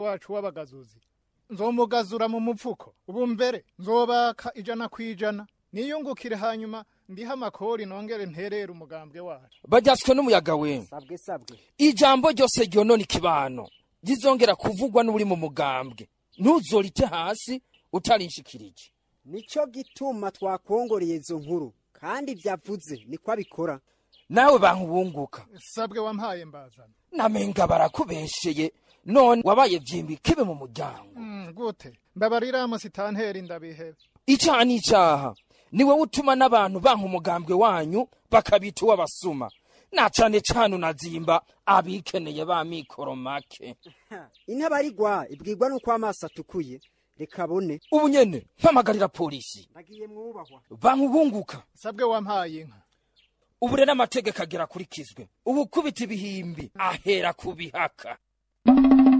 wacu w'abagazuzi. Nzomugazura mu mupfuko. Ubu mbere nzobaka 100%, niyungukire, hanyuma ndiha amakori, nongere nterere umugambwe wacu. Bajyaswe n'umuyaga we. Sabwe, sabwe. Ijambo ryose ryonona ikibano rizongera kuvugwa n'uri mu mugambwe, ntuzorite hasi utarinshikirije. Nico gituma twakongoreye izo nkuru, kandi vyavuze niko abikora. Nawe bankubunguka. Sabwe wampaye mbazana. Namenga barakubesheye, none wabaye vyimbi kibe mu muryango. Gute? Mbabarira musitanteri, ndabihebe. Icaha n'icaha, ni wowe utuma n'abantu banka umugambwe wanyu, bakabita uw'abasuma, na cane cane unazimba abikeneye ba mikoro make. Intabarigwa ibwirwa nuko amaso atukuye, reka bone. Ubu nyene mpamagarira polisi. Ndagiye mwubahwa. Bankubunguka. Sabwe wampaye inka. Ubu rero amategeko agera akurikizwe. Ubu kubita ibihimbi ahera ku bihaka.